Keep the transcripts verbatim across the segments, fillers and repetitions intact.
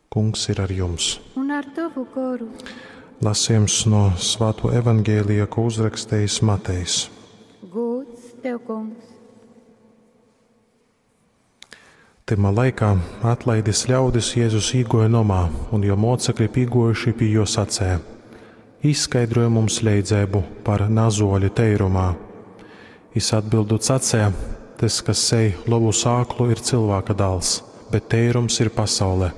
Kungs ir ar jums. Un ar tavu goru. Lasījums no Svāto evaņģēlija, ko uzrakstījis Matejs. Gods tev, kungs. Tymā laikā atlaidis ļaudis Jēzus īgoja nomā, un jo mocekļi pīgojuši pie jo sacēja: Izskaidroja mums leidzēbu par nazoļi teirumā. Is atbildot sacēja: Tas, kas sēj lovu sāklu, ir cilvēka dāls, bet teirums ir pasaule.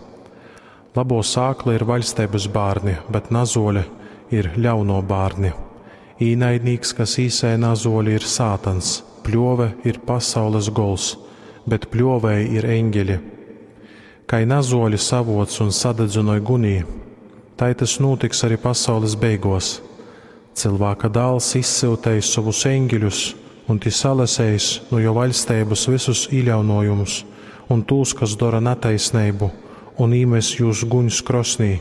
Labo sākla ir vaļsteibas bārni, bet nazoļe ir ļauno bārni. Īnaidnīks, kas īsēja nazoļi, ir sātans, pļove ir pasaules gols, bet pļovēji ir eņģeļi. Kai nazoļi savoc un sadedzinoj gunī, tai tas notiks arī pasaules beigos. Cilvēka dāls izsyutējis savus eņģeļus, un tī salasējis no jo vaļsteibas visus īļaunojumus un tūs, kas dara netaisnību, un īmes jūs guņs krosnī.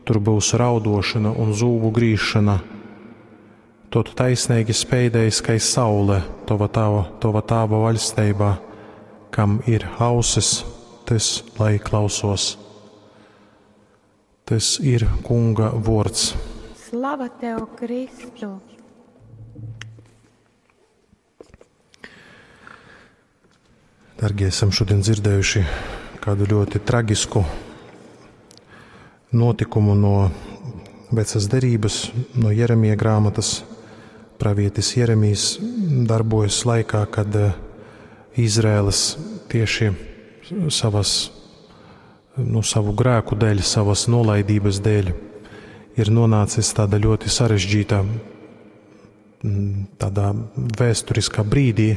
Tur būs raudošana un zūbu grīšana. Tot taisnīgi speidējis, kai saule tova tava, tova tāva vaļsteibā, kam ir ausis, tas lai klausos. Tas ir Kunga vords. Slava tev, Kristu! Dargie, esam šodien dzirdējuši kādu ļoti tragisku notikumu no Vecas derības, no Jeremija grāmatas. Pravietis Jeremijs darbojas laikā, kad eh, Izraēlas tieši savas, nu, savu grēku dēļ, savas nolaidības dēļ ir nonācis tāda ļoti sarežģīta, mm, tādā vēsturiskā brīdī,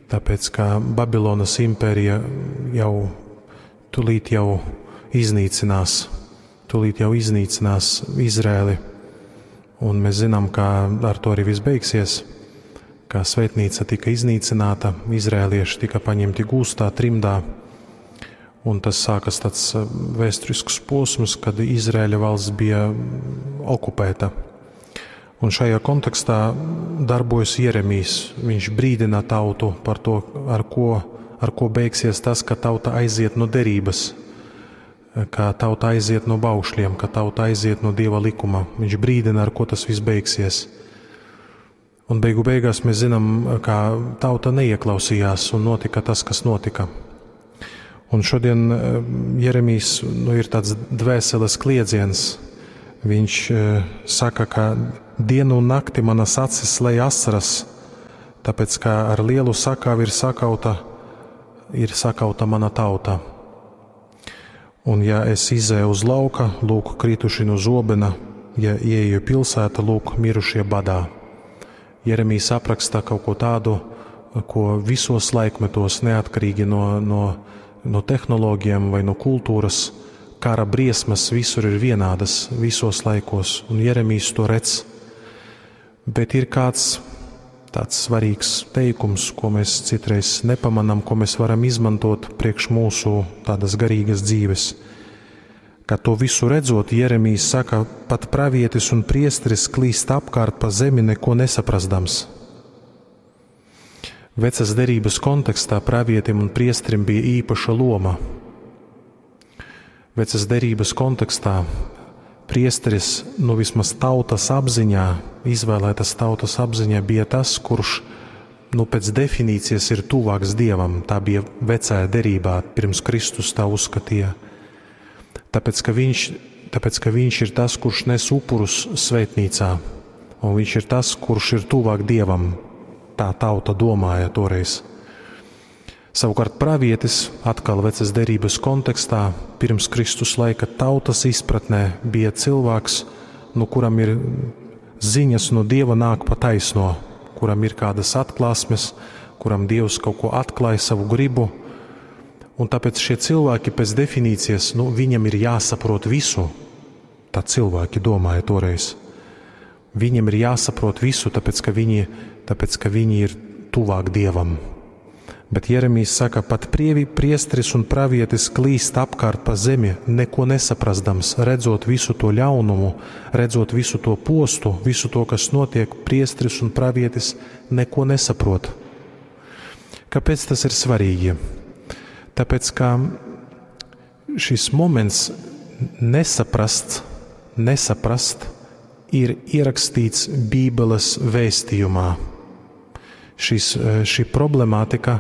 tāpēc ka Babilonas impērija jau tūlīt jau iznīcinās, tūlīt jau iznīcinās Izraēli. Un mēs zinām, ka ar to arī viss beigsies, ka svētnīca tika iznīcināta, izrēlieši tika paņemti gūstā, trimdā, un tas sākas tāds eh, vēsturisks posms, kad Izraēļa valsts bija okupēta. Un šajā kontekstā darbojas Jeremijs. Viņš brīdina tautu par to, ar ko, ar ko beigsies tas, ka tauta aiziet no derības, ka tauta aiziet no baušļiem, ka tauta aiziet no Dieva likuma. Viņš brīdina, ar ko tas viss beigsies. Un beigu beigās mēs zinām, ka tauta neieklausījās un notika tas, kas notika. Un šodien eh, Jeremijs nu, ir tāds dvēseles kliedziens. Viņš eh, saka, ka dienu un nakti manas acis lej asaras, tāpēc ka ar lielu sakāvi ir sakauta, ir sakauta mana tauta. Un ja es izēju uz lauka, lūk, krituši no zobena, ja ieeju pilsēta, lūk, mirušie badā. Jeremijs apraksta kaut ko tādu, ko visos laikmetos, neatkarīgi no, no, no tehnoloģijām vai no kultūras, kara briesmas visur ir vienādas, visos laikos, un Jeremijs to redz. Bet ir kāds tāds svarīgs teikums, ko mēs citreiz nepamanām, ko mēs varam izmantot priekš mūsu tādas garīgas dzīves. Kad to visu redzot, Jeremijs saka, pat pravietis un priesteris klīst apkārt pa zemi, neko nesaprastams. Vecas derības kontekstā pravietim un priesterim bija īpaša loma. Vecas derības kontekstā priesteris, nu vismaz tautas apziņā, izvēlētas tautas apziņā, bija tas, kurš nu, pēc definīcijas ir tuvāks Dievam. Tā bija vecajā derībā, pirms Kristus tā uzskatīja. Tāpēc, ka viņš, tāpēc, ka viņš ir tas, kurš nes upurus svētnīcā, un viņš ir tas, kurš ir tuvāk Dievam. Tā tauta domāja toreiz. Savukārt pravietis, atkal vecas derības kontekstā, pirms Kristus laika tautas izpratnē, bija cilvēks, nu, kuram ir ziņas no Dieva nāk pa taisno, kuram ir kādas atklāsmes, kuram Dievs kaut ko atklāja savu gribu. Un tāpēc šie cilvēki pēc definīcijas, nu, viņam ir jāsaprot visu. Tā cilvēki domāja toreiz. Viņam ir jāsaprot visu, tāpēc, ka viņi, tāpēc, ka viņi ir tuvāk Dievam. Bet Jeremijs saka, pat prievi, priesteris un pravietis klīst apkārt pa zemi, neko nesaprastams, redzot visu to ļaunumu, redzot visu to postu, visu to, kas notiek, priesteris un pravietis neko nesaprot. Kāpēc tas ir svarīgi? Tāpēc, ka šis moments Nesaprasts, nesaprast ir ierakstīts Bībeles vēstījumā. Šis, šī problemātika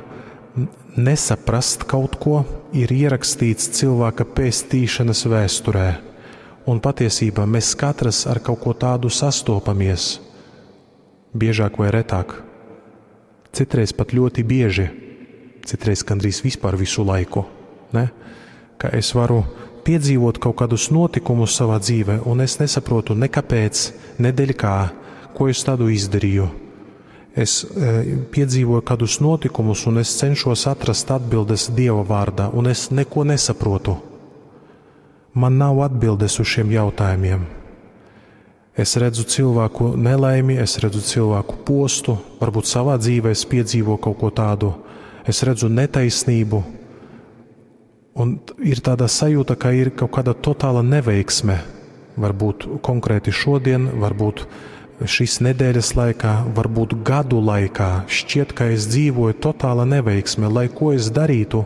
nesaprast kaut ko ir ierakstīts cilvēka pestīšanas vēsturē. Un patiesībā mēs katrs ar kaut ko tādu sastopamies, biežāk vai retāk. Citreiz pat ļoti bieži, citreiz gandrīz vispār visu laiku. Ne? Ka es varu piedzīvot kaut kādus notikumus savā dzīvē, un es nesaprotu ne kāpēc, ne dēļ kā, ko es tādu izdarīju. Es e, piedzīvoju kādus notikumus, un es cenšos atrast atbildes Dieva vārdā, un es neko nesaprotu. Man nav atbildes uz šiem jautājumiem. Es redzu cilvēku nelaimi, es redzu cilvēku postu, varbūt savā dzīvē es piedzīvoju kaut ko tādu. Es redzu netaisnību, un ir tāda sajūta, ka ir kaut kāda totāla neveiksme. Varbūt konkrēti šodien, varbūt šīs nedēļas laikā, varbūt gadu laikā. Šķiet, ka es dzīvoju totāla neveiksme, lai ko es darītu,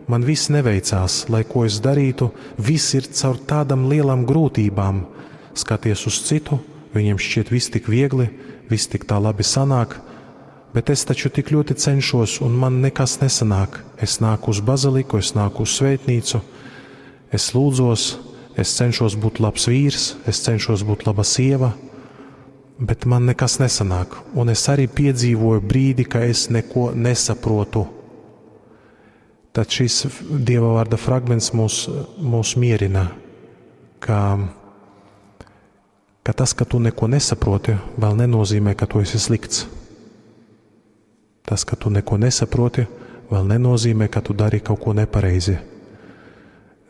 man viss neveicās, lai ko es darītu, viss ir caur tādām lielām grūtībām. Skaties uz citu, viņiem šķiet viss tik viegli, viss tik tā labi sanāk, bet es taču tik ļoti cenšos, un man nekas nesanāk. Es nāku uz baziliku, es nāku uz svētnīcu, es lūdzos, es cenšos būt labs vīrs, es cenšos būt laba sieva, bet man nekas nesanāk. Un es arī piedzīvoju brīdi, ka es neko nesaprotu. Tad šis Dieva vārda fragments mūs, mūs mierina, ka, ka tas, ka tu neko nesaproti, vēl nenozīmē, ka tu esi slikts. Tas, ka tu neko nesaproti, vēl nenozīmē, ka tu dari kaut ko nepareizi.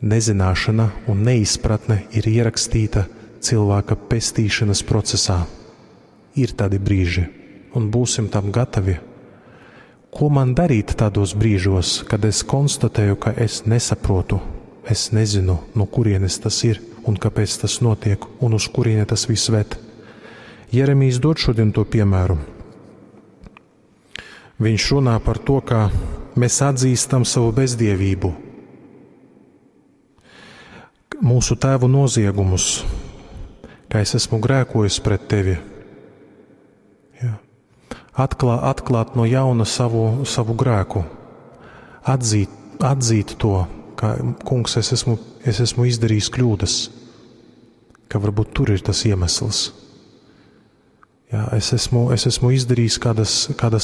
Nezināšana un neizpratne ir ierakstīta cilvēka pestīšanas procesā. Ir tādi brīži, un būsim tam gatavi. Ko man darīt tādos brīžos, kad es konstatēju, ka es nesaprotu, es nezinu, no kurienes tas ir un kāpēc tas notiek un uz kurieni tas viss ved? Jeremijs dod šodien to piemēru. Viņš runā par to, ka mēs atzīstam savu bezdievību, mūsu tēvu noziegumus, ka es esmu grēkojis pret tevi. Jā. Atklā, atklāt no jauna savu, savu grēku, atzīt, atzīt to, ka, kungs, es esmu, es esmu izdarījis kļūdas, ka varbūt tur ir tas iemesls. Jā, es esmu, es esmu izdarījis kādas, kādas